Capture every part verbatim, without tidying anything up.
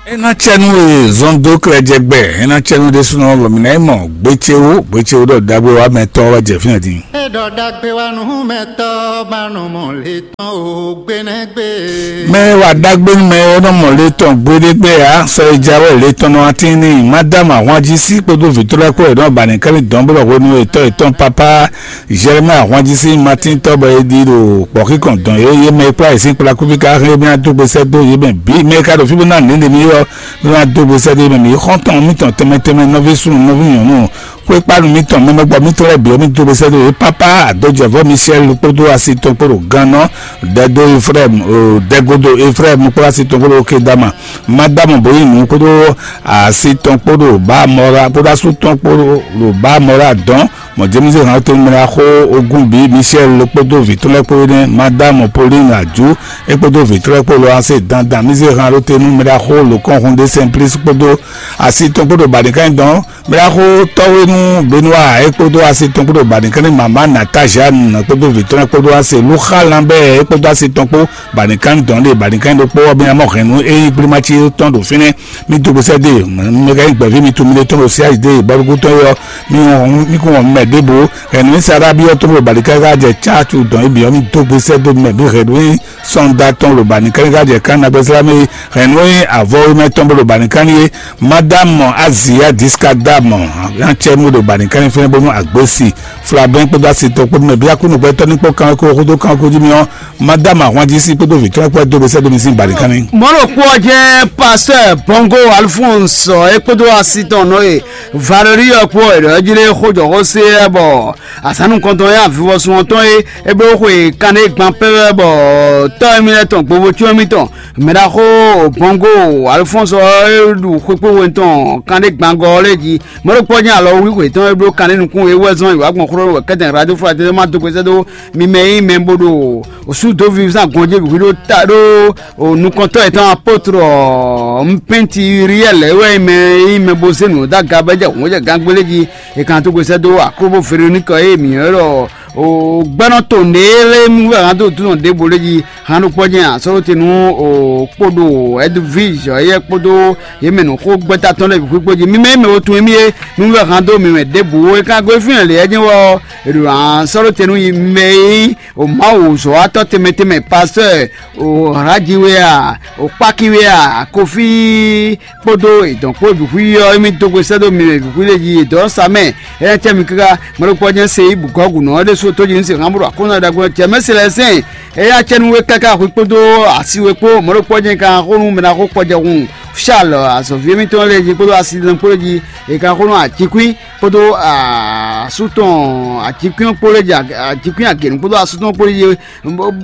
É ná cɛ nú e zɔn dó klɛjɛgbɛ, é ná cɛ nú ɖésúnɔ bɔ mǐ ná yi mɔ gbécéwú, gbécéwú ɖɔ ɖagbe wá mɛ tɔ́ wá jɛ fínɛ́ din. É ɖɔ ɖagbe wá nú mɛ tɔ́ ba nɔ mɔ lě tɔn o gbénɛgbé. Mɛ e wa ɖagbe nú mɛ e nɔ mɔ lě tɔn gbéɖégbé ǎ, sɔ e jǎwe lě tɔn nɔ atín n'i. Madámu ahwanjí sí kpódó vǐtɔ́ lɛ́ɛ kpó e nɔ ba nǐ kɛ́n dɔn bó ɖɔ hwenu e tɔ́ yětɔn papá Jeremía ahwanjí sín matíntɔ́ bɔ è ɖi ɖo kpɔ̌xíkɔn dɔn yě, yě mɛ e kplá yě sín kplakúví ká hɛn é mɛ dó gbe sɛ́ dó yě mɛ bǐ. Mɛ e ka ɖo fí bó ná nǐ ɖe mì é ɔ́, bó ná dó gbe sɛ́ dó yě mɛ bǐ. Xɔ́ntɔn mǐtɔn tɛnmɛ tɛnmɛ, nɔví súnnu nɔví nyɔ̌nu, xwékpánu mǐtɔn, mɛmɛgbɔ mítɔn lɛ́ɛ bǐ ɔ́, mì dó gbe sɛ́ dó yě. Pápá Adɔjɛvɔ́ Michel kpódó asi tɔn kpó ɖo gannɔ, Dɛdo Efrayim, Dɛgodo Efrayim kpó asi tɔn kpó ɖo Kedama, Madamu Boyinu kpódó asi tɔn kpó ɖo Bamɔra kpódó asú tɔn kpó ɖo Bamɔra dɔn. Mɔ̌ jɛ́n mì zé han ɖó te nú mɛɖaxó ogún bǐ, Michel kpódó vǐ tɔn lɛ́ɛ kpó énɛ́, Madámu Pauline Ajú, é kpódó vǐ tɔn lɛ́ɛ kpó lɔ ase dandan. Mì zé han ɖó te nú mɛɖaxó Lǒkɔ́nhun ɖé Simplice kpódó asi tɔn kpó ɖo Baɖinkányi dɔn. Mɛɖaxó Tɔ́wénú Benoa, é kpódó asi tɔn kpó ɖo Baɖinkányi, Mama Nata Jeanne kpódó vǐ tɔn lɛ́ɛ kpódó ase Lúxa Lanbɛ́ɛ, é kpódó asi tɔn kpó Baɖinkányi dɔn ɖe Baɖinkányi ɖokpó ɔ́, bɔ é ná mɔ hɛ̌nnu é nyí gblémací tɔn ɖo fínɛ́. Mì dó gbe sɛ́ dó yě, mɛ ka nyí gbɛ̌ví mitɔn, mi ɖe tɔn ɖo C H D bɔɖuxútɔn é ɔ́, mi wɔn mi kún wɔn mɛ ɖěbǔ. Hɛ̌nnu e Sara byɔ́ tɔn ɖo balikáká jɛ cácu dɔn é bǐ ɔ́, mi dó gbe sɛ́ dó mɛ bǐ hɛ̌nnu e sɔ́nda tɔn ɖo balikáká jɛ kán nagbɛ́slámɛ é, hɛ̌nnu e avɔ e mɛ tɔn bó ɖo balikáni é. Madame Azia Diska Dame, acɛnu ɖo balikáni fɛnɛ bónú agbesi Flabɛn kpódó asitɔ kpódó mɛ bíá kúnnugbɛtɔ́ ní kpó kanwekó xódó kanwekó jí mì ɔ́, Madame ahwanjí sí kpódó vǐ tɔn kpó dó gbe sɛ́ dó mi sín balikáni. Mɔ̌ ɖokpó ɔ́ jɛ́n Pasteur Bongo Alphonse é kpódó asi tɔn nɔ e Valerie ɔ́ kpó è ɖɔ jí lé xó jɔ xó sé ɛ bɔ azǎn nukɔntɔn e avivɔsun ɔ́ tɔn é é bló xwe kanɖé gban pɛ́pɛ́ bɔ tɔ́ émí lɛ́ɛ tɔn gbovocyɔ́n émítɔn mɛɖaxó Bongo Alphonse ɔ́ é ɖu xwekpéxwe tɔn kanɖé gbangɔ ɔ́ lɛ́ɛ jí. Mɔ̌ ɖokpó ɔ́ jɛ́n alɔ wlí xwe tɔn é bló kanɖé nukún é wɛ zɔn yi wǎ gbɔn xló wɛ kɛ́tɛn radio fraternité ma dó gbe sɛ́ dó mi mɛ e nyí mɛ bo ɖo sú dó viví sín agɔn jí bǐ xwí ɖó ta ɖó nukɔntɔ́ yětɔn apotro ɔ́, Mpɛ́nti Uriɛ́li wɛ nyí mɛ e nyí mɛ bo zé nǔ dó aga bɔ é jɛ hǔn jɛ gangbélé jí. È kan tó gbe sɛ́ dó Aklobo Veronika e mǐ ylɔ́ ɖɔ gbɛ́nɔ to nǔɖé lɛ́ɛ mú wɛ hán dó dúnɔ ɖěvo lé jí. Hán ɖokpó jɛ́n asɔ́lótenu kpódó Edwige yɛ́ kpódó yě mɛ nǔxógbɛ́ta tɔn lɛ́ɛ bǐ xwíxwó jí. Mi mɛ e mɛ wo tunwun émí é, nú wɛ hán dó mi mɛ ɖěbǔ é ka gosín lě ɛ jɛ́n wɛ ɔ́, è ɖo asɔ́lótenu yi mɛ e nyí Mawu zɔ̌watɔ́ tɛnmɛ tɛnmɛ, pastɔ́ Halaji wɛ a, Kpaki wɛ a, Kofi kpódó èdɔn kpó bǐ xwí ɔ́, émí dó gbe sɛ́ dó mi mɛ bǐ xwí lé jí, èdɔn sa mɛ. É ná cɛ mi káká, mɔ̌ ɖokpó ɔ́ jɛ́n se yí bǔ gɔ́ gǔnɔ ɔ́ ɖésú tó jí ní se hán bó ɖo aklúnɔ ɖagbe ɔ́ jɛ mɛ se lɛ́ɛ sɛn. É ná cɛ nú we káká xwí kpódó asi we kpó, mɔ̌ ɖokpó ɔ́ jɛ́n ka xó nú mɛ ná xó kpɔjɛhun Charles azɔ̌ví émítɔn lɛ́ɛ jí kpódó asi tɔn kpó lé jí. È ka xó nú ajíkwín kpódó asú tɔn ajíkwín kpó lé jí, ajíkwín agěnu kpódó asú tɔn kpó lé jí.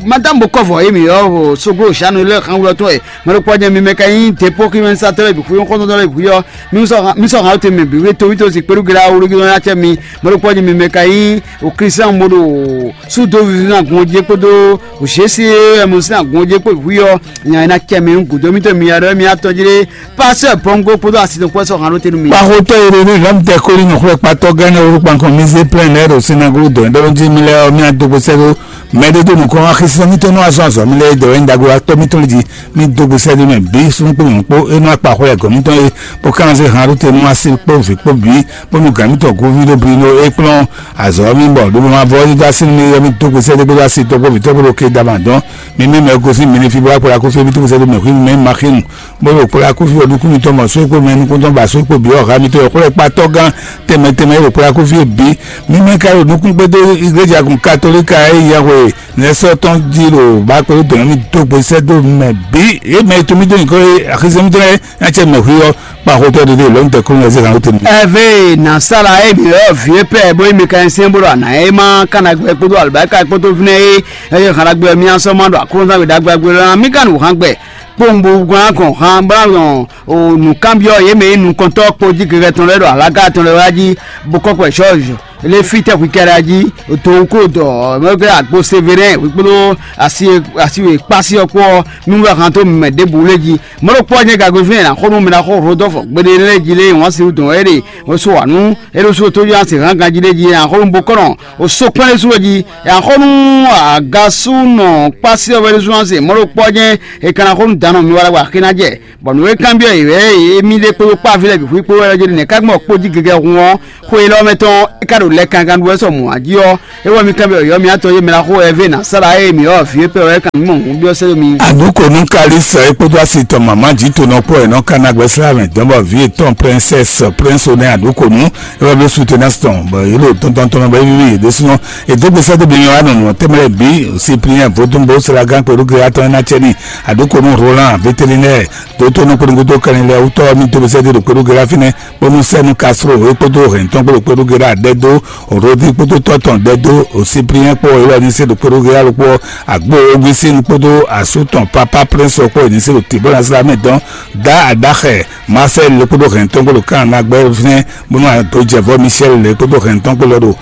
Madame Bokɔvɔ ye mi ɔ soglo shanu lɛ xan wulɔ tɔn ye. Mɛ ɖokpɔ jɛ mi mɛ ka nyi depo ki mɛ satɔ lɛ bi xuyɔ xɔtɔn lɛ bi xuyɔ. Mi sɔ mi sɔ hàn te mɛ bi wuli to wito si kpeɖu gila wuli gila ya cɛ mi. Mɛ ɖokpɔ jɛ mi mɛ ka nyi o Christian moɖo sudo vivi na gun je kpodo o Jésus ɛmu sin agun je kpo bi xuyɔ. Nya na cɛ mi gudo mi to mi ya ɖɔ mi atɔ ji ɖe. Pasteur Bongo kpódó asi ɖokpó sɔ hàn ló tenu mi. Kpaxotɔ yi ɖe ní lɔm tɛ kóli nɔ xlɛ kpatɔ gánɛ wúrú kpankɔ mi zé plɛn lɛ ɖo sinagogo dɔn ɖɔ jí mi lɛ ɔ mi adógbó sɛ ɖo mɛ ɖé dó nukɔn axisɛ mi tɔn nɔ azɔ azɔ mi lɛ dɔ wɛ ndagbo atɔ mi tɔn lɛ jí mi dógbó sɛ ɖo mɛ bí sún kpó nyɔn kpó enú akpa xlɛ gɔ mi tɔn ye kpó kán zé hàn ló tenu asi kpó vi kpó bí kpó nu gǎn mi tɔn goví ɖo bli nɔ é kplɔn azɔ mi bɔ ɖo ma vɔ yi dá sí mi yɔ mi dógbó sɛ ɖé gbé dá sí tɔgbó vi tɔgbó ɖo ké dama dɔn mi mi mɛ gosi mi ní fi bó akpɔ la kó fé mi dógbó sɛ ɖo mɛ hui mi ma xinu. Bó ɖo kplá kúfí ɔ́ nukún mitɔn mɔ só kpó mɛ nukúntɔn ba só kpó bǐ ɔ́ ha mitɔn e xwlɛ́ kpatɔ́ gán tɛnmɛ tɛnmɛ e ɖo kplá kúfí ɔ́ bǐ. Mí mɛ ka ɖo nukún kpédó igleja gun katolíka e yɛhwe nɛsɔ́ tɔn jí ɖo bá kpédó dɔ̌n mì dó gbe sɛ́ dó mɛ bǐ. Yě mɛ e tun mì dó nyǐkɔ e axizɛ mitɔn lɛ́ɛ ná cɛ mɛ hui ɔ́ kpa xotɔ́ ɖiɖe lɔ̌n tɛ kúnnu ɛzé han tɛnmɛ. Ɛvɛ nasala e mi ɔ vie pɛ bo mi ka sɛn bo ɖo ana e ma kana gbɛ kpódó alibaka kpódó vnɛ e eye han ɖagbe mi asɔ ma ɖo aklúnzán gbe ɖagbe agbe lɔ mi ka nu han gbɛ kpowun bo gɔn akɔn han bla nɔ o nǔkanbyɔ́ yě mɛ e nukɔntɔ́ kpó jí gɛgɛ tɔn lɛ́ɛ ɖo alaga tɔn lɛ́ɛ wá jí bó kɔ́ kpɛ George Lé fítɛ́ hwikɛ́ɖá jí, dǒwúkúdɔ mɛgbɛ agbo Severɛn hwi kpódó asi asi e kpási ɔ́ kpó ɔ́, mí wɛ han dó mɛ ɖěbǔ lé jí. Mɔ̌ ɖokpó ɔ́ nyɛ gǎgbe fínɛ́ ná xó nú mɛ ná xó Rodolphe gbeɖé lɛ́ɛ jí lé wǎn si dɔn é ɖe so wǎ nú é ɖo sú tójú asi hán ganjí lé jí ná xó nú bokɔ́nɔ o so kpɛ́n lé sú jí ná xó nú agasúnɔ kpási ɔ́ wɛ ɖésú asi mɔ̌ ɖokpó ɔ́ nyɛ è ka ná xó nú dǎnɔ mi wá ɖagbe axi ná jɛ. Bɔ nǔ e kanbyɔ́ yě wɛ émí ɖe kpódó kpáví lɛ́ɛ bǐ xwí kpó wɛ ɔ́ jɛ nɛ̌ ká gbɔn kpó jí gɛgɛ hun ɔ́, xwe élɔ́ mɛ tɔn é ka ɖo lɛ kankan ɖu wɛ sɔ mɔ̌ jí ɔ́, é wɛ mi kanbyɔ́ yɔ̌ mi atɔn yé mɛ ná xo ɛvě nǎ sá ɖa ée mǐ ɔ́ vǐ e pɛ wɛ é kan mɔ hǔn byɔ́ sɛ́ dó mi. Anǔ ko nú Kalísɛ é kpódó asi tɔn mǎmá jǐ tonɔ kpó wɛ nɔ ká ná gbɛsɛ́ amɛ dɔn bɔ vǐ yětɔn Princesse Prince Honneur anǔ ko nú é wɛ bló soutenance tɔn bɔ yě ɖo tɔntɔn tɔn bɔ é víví yě ɖésúnɔ. È dó gbèsè dó bimi wa nɔ nɔ tɛmɛ lɛ bi Cyprien vodúnbó selagan kpɛɖú geyatɔn ná cɛ ní àdókònú Roland vétérinaire dótó nú kpódókpódó kɛnɛ lɛ wútɔ mi dó gbèsè dó kpɛɖú geya fínɛ bónú sɛnu Castro é kpódó hɛn tɔn kpódó kpɛɖú geya dɛ dó Rodi kpódó tɔtɔn dɛ dó Cyprien kpó é wɛ ní se ɖo kpɛɖú geya ló kpó agbo Augustin kpódó asú tɔn papa Prince kpó é ní se ɖo tibó na sila mɛ dɔn dá aɖaxɛ Marcel lé kpódó hɛn tɔn kpódó kan na gbɛ fínɛ bónú adojɛvɔ Michel lé kpódó hɛn tɔn kpódó ɖo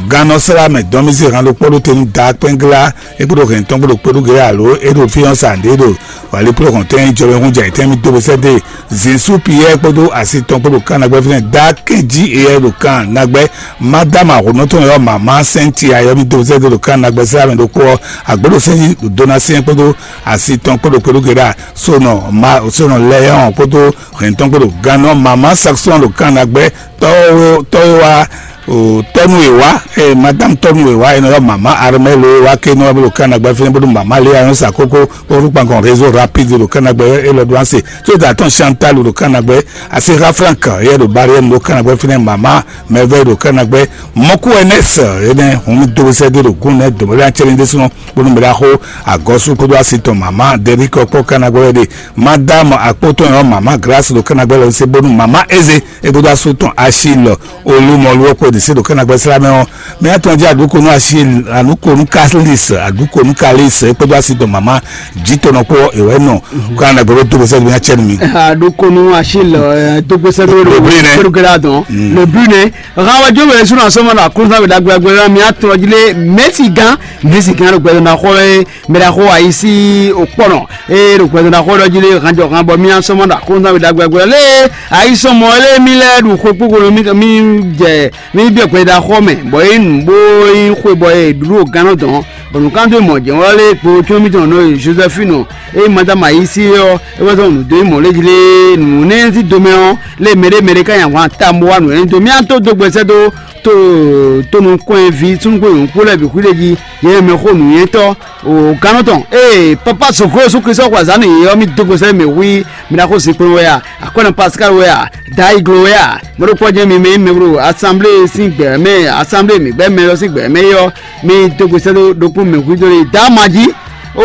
Gannɔ sɛ́ wá mɛ dɔn mì zé han ɖokpó ɖó te nú Daá Kpɛ́nglá, é kpódó hɛn tɔn kpódó kpéɖú géré alo é ɖo fí ɔ́ sa ɖě ɖo wǎlíplɔ́hɔn tɛn jɔwɛ hún jɛ ayǐtɛn mì dó bó sɛ́ dó e. Zǐnsú Piyɛ́ɛ kpódó asi tɔn kpódó kan nagbɛ́ fínɛ́ Daá kɛ́n jí éyɛ́ ɖo kan nagbɛ́. Mádama hǒnɔ tɔn yɔ́ mǎmá sɛ́nti ayɔ́ mì dó bó sɛ́ dó ɖo kan nagbɛ́ sɛ́ wá mɛ ɖokpó ɔ́, agbǒɖosɛ́n Donasiyɛn kpódó asi tɔn kpódó kpéɖú géré, Sonɔ ma Sonɔ Lɛyɔ́n kpódó hɛn tɔn kpódó gannɔ mǎmá Saksɔ́n ɖo kan nagbɛ́ tɔ́ e wá tɔ́ e wá tɔ́ nú e wá, ɛ madame tɔ́ nú e wá, e nɔ ylɔ́ mama Armel e wá ké nɔ wá bó ɖo Kana gbɛ́ fínɛ́ bó ɖo mama Léa nyɔ́ sa kókó bó ɖo kpankɔn réseau rapide ɖo Kana gbɛ́ é lɔ ɖó ase tó da tɔn Chantal ɖo Kana gbɛ́, Asera Frank yɛ ɖo Barrière ɖo Kana gbɛ́ fínɛ́, mama Merveille ɖo Kana gbɛ́, mɔkú Ernest énɛ́ hun mi dó sɛ́ dó ɖo gún nɛ́ dǒmɔlé acɛ́lɛ́ ɖésúnɔ bónú mɛ ɖaxó agɔ́sú kpódó asi tɔn mama Derrick ɔkpɔ́ Kana gbɛ́ wɛ ɖe. Madame Akpótɔ́ ɔ́, mama Grâce ɖo Kana gbɛ́ lɔ se bónú mama Eze é kpódó asú tɔn Achille Olumɔlu ɔ́ kpó ɖi sí ɖo Kana gbɛ́ slá mɛ ɔ́, mɛ atɔn jí aɖǔkonu Achille aɖǔkonu Kalis aɖǔkonu Kalis é kpódó asi tɔn mama jǐtɔnɔ kpó è wɛ nɔ Kana gbɛ́ ɖó dó gbèsè mɛ acɛnu mi. Aɖukunu Achille dógbésɛ lórí Brunei. Kérúkérú adɔn le Brunei. Hãwɛ jó wɛ sunu asɔmɔ la kúnzán wɛ dagbe dagbe la mi atɔ jí lé Messi gán Messi gán ló gbɛdɔ na xɔ lɛ mɛ ɖaxó ayisi òkpɔnɔ eye ɖo gbɛdɔ na xɔ lɔ jí lé hãnjɔ hã bɔ mi asɔmɔ la kúnzán wɛ dagbe dagbe lé ayisɔmɔ lé mi lɛ ɖu xwe kpókpó mi mi jɛ mi biɔ gbɛdɔ xɔ mɛ bɔ yé nu bó yé xwe bɔ yé ɖu ɖo gánɔ dɔn. Bɔnukando mɔ jɛn wɔ lé kpo tún mi tɔn nɔ Josephine e madame ayisi ɔ e wɛ tɔn nu do mɔ lé jlé nu ne ti domɛ ɔ lé mɛɖé mɛɖé ka nya wan ta mo wa nu ne do mi an to do gbɛsɛ do to to nu kɔn vi sunugbo yòókù lɛ bi xwile ji yɛ mɛ xo nu yɛ tɔ o gannɔ tɔn ee papa sokro su Kristu xɔ azan ne yɛ mi do gbɛsɛ mi hui mi na xo zinkpo wɛ ya akɔnɔ Pascal wɛ ya da iglo wɛ ya mɔɖokpɔ jɛ mi mɛ mɛ bro assemblée sin gbɛ mɛ assemblée mi gbɛ mɛ lɔ sin gbɛ mɛ yɔ mi dó gbèsè ɖo ɖokpó mɛ hwídó ɖe dá ma jí o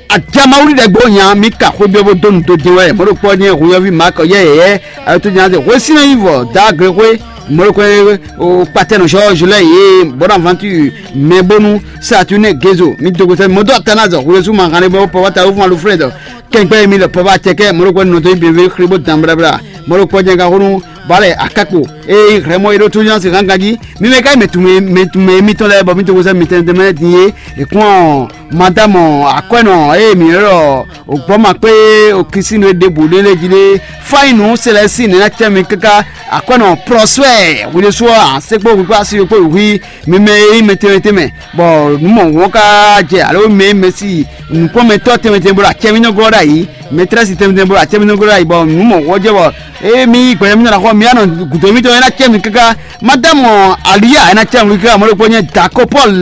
adjamawuli ɖe gbó nya mi ka xwé biɔ bó dó nu dó jɛ wɛ mɔɖokpɔ nyɛ hwéyɔvi ma kɔ yɛ yɛ ayɔtɔ nya de hwé sinɛ yi vɔ dá gre hwé mɔɖokpɔ o kpatɛ nɔ sɔ jolɛ ye Bonaventure mɛ bónú Saturne Gezo mi dó gbèsè mɔdó atana zɔ hwé suma hàn bɔ pɔpɔ ta wofuma lo frɛ dɔ kɛnkpɛ mi lɛ pɔpɔ acɛkɛ mɔɖokpɔ nɔ tó yi bebe xri bó dan blabla mɔɖokpɔ nyɛ ka xónú balɛ akakpo eye hlɛmɔ yi ɖó tóyán si hángan jí mi mɛ ka yi mɛ tumɛ mɛ tumɛ mitɔn lɛ bɔ mi to wosɛ mitɛn tɛmɛ din ye ekun ɔ madame akwɛnɔ eye mi yɔrɔ ògbɔma kpé okisinu ɖe bu ɖe lɛ jí ɖe fainu sɛlɛsi nɛ na cɛ mi kaka akwɛnɔ prɔswɛ wuli sɔ asekpo gbogbo asi yokpo hui mi mɛ yi mɛ tɛmɛ tɛmɛ bɔ numɔ wɔn ka jɛ alo mɛ mɛ si nukpɔmɛtɔ tɛmɛ tɛmɛ bɔ acɛ mi nɔ glɔ ɖe ayi mɛtrɛsi tɛmɛ tɛmɛ bɔ acɛ mi nɔ glɔ ɖe ayi bɔ numɔ wɔn jɛ bɔ eye mi yi gbɛɖɛ mi nɔ xɔ mi anɔ gǔdo mitɔn ena cɛ mi kaka madamu aliya ena cɛ mi kaka mɔɖokpɔ nyɛ dako paul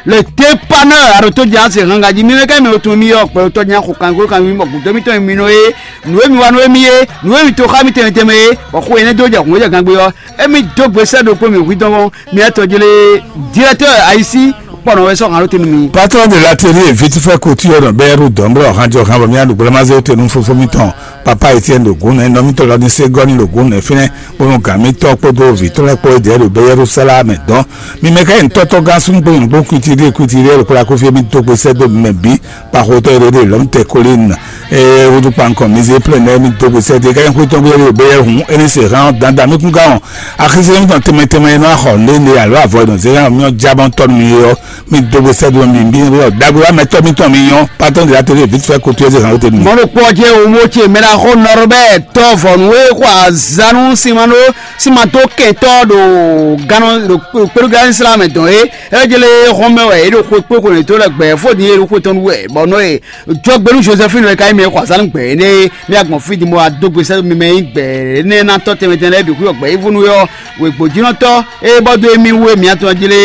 le dépanneur aɖo tó dze ase hanga jí mi mɛ ká mi tún mi yɔ kpɛ tɔ nya xɔ kan kó kan mi bɔ gǔdo mitɔn mi nɔ ye nǔ e mi wa nú emi ye nǔ e mi to xá mi tɛnmɛ tɛnmɛ ye bɔ xó enɛ dó jɛ hǔn jɛ gangbe ɔ emi dó gbe sɛ ɖokpó mi hu dɔn mi ɛtɔ jele directeur ayisi kpɔ́ nɔ wɛ sɔ́ hǎn ɖó te nú mi. Patron de l'atelier vite fait couture ɖɔ bɛ́ ɖo dɔ̌n blɔ hánjɔ hán bɔ mía ɖo gblémazé te nú fofó mitɔn papa Etienne ɖo gǔn nɛ́ nɔ mitɔn lɔ ní sé gɔ́ ní ɖo gǔn nɛ́ fínɛ́ bónú gǎn mitɔn kpódó vǐ tɔn lɛ́ɛ kpó é ɖěe ɖo bɛ́ Yɛ́rúsalɛ́mu dɔn. Mi mɛ ká nyí tɔ́tɔ́ gán súnnu kpó nyɔ̌nu kpó kwítíɖí kwítíɖí ɖo kplá kúfí mi dó gbe sɛ́ dó mɛ bǐ. Kpaxotɔ́ e ɖo ɖe lɔ̌mtɛ kolín eye wudu kpankɔ mi zé plɛ́ nɛ́ mi dó gbe sɛ́ dó ká nyí xwé tɔn gbé ɖo bɛ́ Yɛ́rúsalɛ́mu é ní se hán ɔ́ dandan mi kún gán ɔ́. Axi se mi tɔn tɛnmɛ tɛnmɛ e nɔ wá xɔ lé le alo avɔ e nɔ zé hán mì ɔ́ já bɔ tɔ́ nú mi ɔ́, mi dó gbe sɛ́ dó mi bí ɔ́ ɖagbe wá mɛtɔ́ mitɔn mi nyɔ́ patɔ́n de la télé vite fait kotoyé zé hán wóte nú mi. Mɔɖokpɔ́ ce wo mo ce mɛ ná xo nɔrɔ bɛ tɔ́ vɔ̌nu e xɔ azanu simano simato kɛntɔ́ ɖo gánɔ ɖo kpéɖoglá Islam dɔn é. É jele hɔn mɛ wɛ é ɖo xwe kpé xwe to lɛ gbɛ fó din é ɖo xwe tɔn wɛ bɔ nɔ é jɔgbenu Joseph nɔ é ka yi mɛ xɔ azanu gbɛ é nɛ mi agbɔn fí din bɔ adó gbe sɛ́ mi mɛ nyí gbɛ énɛ́ ná tɔ́ tɛnmɛ tɛnmɛ lɛ́ɛ bǐ xwí ɔgbɛ yi vónú ɔ́. Wěgbójínɔtɔ́ e bɔ dó émí wú e mǐ atɔn jí lé,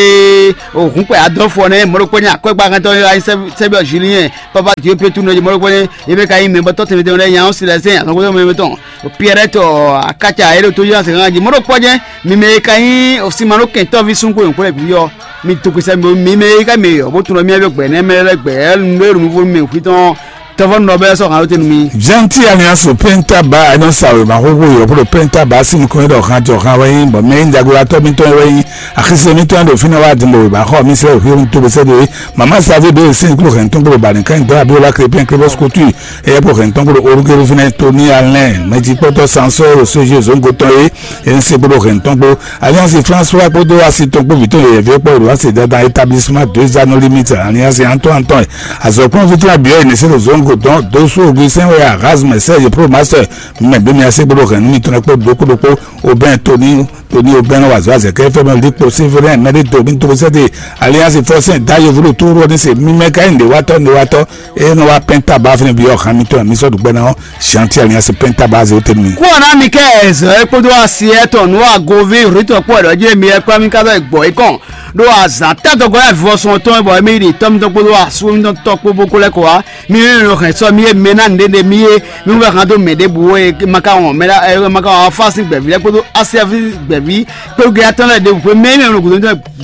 òhúnkpɛ adɔ́fɔ nɛ́ mɔɖokpɔ́ ní akwɛ́gbáhɛntɔ́ e wá nyí Sɛ́bíɔ Jiliyɛn, Papa Diopie tún nɔ jí mɔɖokpɔ́ ní é bɛ ka nyí mɛ bɔ tɔ́ tɛnmɛ tɛnmɛ lɛ́ɛ nya ɔ́ si lɛ́ sɛn azɔn xwé tɔn mɛ tɔn. Piɛrɛ́ tɔ akáca e ɖo tó jí azɔn ganjí mɔɖokpɔ́ jɛ́n mi mɛ e ka nyí Simanókɛntɔ́ví súnxó nyɔ̌kpɔ́ lɛ́ɛ bǐ ɔ́, mi dó gbe sɛ́ mi mi mɛ e ka mɛ yɔ̌ bó tún nɔ mì wɛ gbɛ̌ nɛ́ mɛ lɛ́ɛ gbɛ̌ nǔ e ɖo nǔ vo nú mɛ xwí tɔn tɔ́vɔ́ nɔ bɛ́ sɔ́ hǎn ɖó te nú mì. Janti alianso pɛntaba ɛnɔ sa wěma xóxó yɔ̌ kpó ɖo pɛntaba sín nukɔn ɖɔ hán jɔ hán wɛ nyí bɔ mɛ nyí ɖagbelatɔ́ mitɔn wɛ nyí axisɛ mitɔn ɖo fínɛ́ wá din ɖo wěma xɔ mi sɛ wí to bɛ sɛ ɖo é mama savi ɖo é sɛn kúrò hɛn tɔn kúrò bani kan dɔ abiola krepin krepin skutu eye kúrò hɛn tɔn kúrò orúkérú fínɛ́ tóní alɛn mɛjikpɔtɔ sansɔ ɖo sójú zongo tɔn é é ń se kúrò hɛn tɔn kpó Alliance François kpódó asi tɔn kpó vǐtɔn yɛyɛví kpɔ́ ɖo asi dandan établissement deux anneaux limite Alliance Antoine Antoine azɔ̌kplɔ́nví tɔn abiɔ yi nɛsɛ ɖo zongo dɔn dosu Augustin wɛ Erasme Serge pro master mɛ bí mi ase kpódó hɛn nú mitɔn kpó ɖokpó ɖokpó Aubin Tony Tony Aubin wazɔ azɛ kɛ fɛn mɛ likpo Séverin mɛ ɖé do mi to sɛ de Alliance Forcin da yevu ɖo tóru ɔ́ ní se mi mɛ ka nyí nɖewatɔ́ nɖewatɔ́ eye nɔ wá pɛn taba fɛnɛ bi ɔ́ hàn mitɔn mi sɔ́ ɖu gbɛ ná ɔ́ Jean Pierre Alliance pɛn taba azɛ wóte nú mi. Kúrò ná mi kɛ ɛzɔ é kpódó asi ɛtɔn nú agoví rǐtɔ kpó ɛɖɔ jí mi ɛ kplá mi ká bɛ gbɔ é kɔn ɖó azǎn tɛ́tɔgɔ́ yá vivɔsɔn tɔn bɔ mi ɖi tɔ́ mitɔn kpódó asú mitɔn tɔ́ kpó bó kó lɛ́ kɔ wá mi ní nɔ hɛn sɔ mi e mɛ ná nǔɖé ɖe mi e mi wɛ hàn dó mɛ ɖěbǔ e ma ka wɔn mɛ ɖá e ma ka wɔn afá sín gbɛ̀ví lɛ́ɛ kpódó asiaví gbɛ̀ví kpódó atɔ́ lɛ́ɛ ɖěbǔ xwé mɛ énɛ́ nɔ gǔdo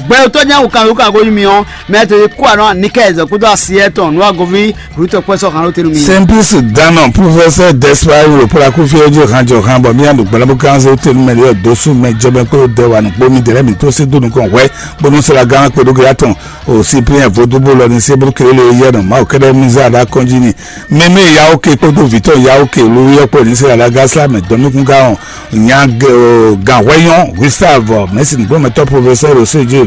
gbɛtɔ́ nyá wò kan wò kan ko nyi mi ɔ́ mɛ to yi kó anɔ nikɛ ɛzɔ kpódó asi ɛtɔn nú agoví rútɔ kpɛsɔ hàn ló tenu mi. Simplice Danon, professeur Despard Wuro Plaku Fiodjo Hanjo Hanbɔ Miandu Gbalabu Kanze Tenu Mɛlɛ Dosu Mɛ Jɔbɛ Kpo Dɛwanu Kpomi Dɛlɛ Mi Tosi Dunu Kɔn Hwɛ Bonu Sela Gan Kpodo Gratɔn O Cyprien Vodoubo Lɔ Ni Sebru Kelele Yɛnɔ Mawu Kɛdɛ Miza Da Kɔnjini Mɛmɛ Yaoke Kpodo Vitɔ Yaoke Luyɔ Kpo Ni Sela Da Gasla Mɛ Dɔnukun Gaon Nya Gawhɛyɔn Gustave Mɛsi Nugbɔmɛtɔ Professeur Osejo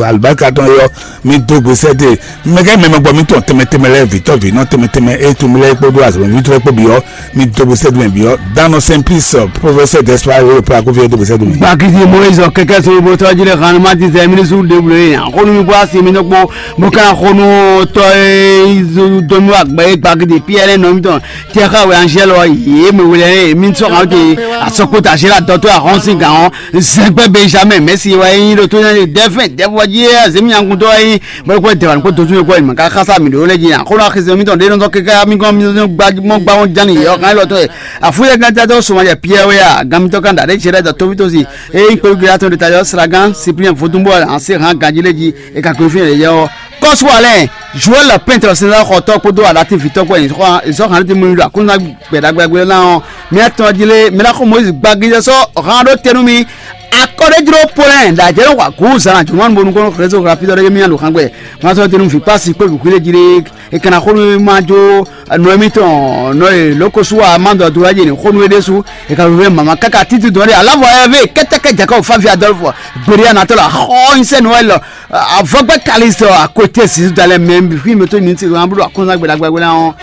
Alibarika Tɔn Yɔ Mi do gbe sɛ́ dó e mɛ kɛ mɛ mɛ gbɔ mitɔn tɛnmɛ tɛnmɛ lɛ́ɛ vǐtɔ́ vǐnɔ tɛnmɛ tɛnmɛ e tunwun mi lɛ́ɛ kpódó azɔ̌mɛví lɛ́ɛ kpó bǐ ɔ́, mi do gbe sɛ́ dó mɛ bǐ ɔ́. Dano Simplice, professeur Gaspard Wolo Plaku fí ɔ́ do gbe sɛ́ dó mɛ. Gbagidi Moyiz kɛkɛ so bo tɔ́ jí lɛ han ma ti zɛ mini su de wule yan xonu mi bɔ asi mi nɔ kpó mo kan xonu tɔ e do mi wa gbɛ gbagidi Pierre nɔ mi tɔn tɛ xa wɛ anzɛlɔ ye mɛ wele mi sɔ kan te asɔkota zela dɔtɔ ahɔn sin gan ɔn zɛgbɛ Benjamin Messi wa yin ɖo to ne dɛfɛn dɛfɔ ji azemi nyankutɔ wa yin Mɛ kó dɛwà ní kó dodún yɛ kó ɛnìmɔ ká xásá mǐ ɖó lɛ́ jí nya xó nɔ axi sɛn mítɔn ɖé nɔ zɔ́n kɛká mí gɔ́n mí zɔ́n gbá mɔ gbá wọn ján nǐ yɛ ɔ́ kan élɔ́ tɔn e afúyɛ gán játɔ sɔmɔ jɛ Piyɛ́ɛ wɛ a gan mítɔn kan ɖa ɖé ce lɛ́ɛ dɔ tóvítósi eye nyí kpéɖu gíga tɔn ɖo ta yɔ sragán Sipliyɛn vodúnbɔ an se hán ganjí lé jí e ka kó fínɛ́ yɛ ɔ́ kɔ́sú alɛ Joël pɛntɔ sɛnzá xɔtɔ́ kpódó aɖatín vǐtɔ́ kpó ɛnì xɔ ìzɔ́ hàn tɛ́ mú mi ɖo akúnná gbɛ̌ɖagbɛ́gbɛ́ ná ɔ́ mɛ atɔn jí lé mɛ ná xɔ Moyiz gbagídɛ sɔ́ hán ɖó te nú mi akɔ́ɖéjló Polɛ́ɛ ɖo ajɛ̌ nɔ xɔ agǔ zǎn ajɔ̌mɔnu bónú kɔn xlɛ́ só xlá fítɔ́ ɖé mí nya ɖo xán gbɛ. Ŋá sɔ́ tɛ́ nú vǐ kpási kpó vǐ xwíɖé jí ɖé. È ka ná xó nú má jó nɔ émítɔn nɔ e lǒ ko sú wa má dɔ do wá jɛ ní xó nú é ɖésú. È ka vɛ́ mama káká títí dɔn ɖé aláwɔ ɛ vé kɛ́tɛ́kɛ́ Jakɔ́bu fáfi Adɔlfu. Gběɖé anatɔ́ la xɔ nyísɛ́ Noɛl avɔgbɛ́ Kalixte akwete Zizu dalɛ mɛ fí mɛ tó ní ti ɣán bló akɔ́nzán gbɛɖagbɛɖa ɔ́.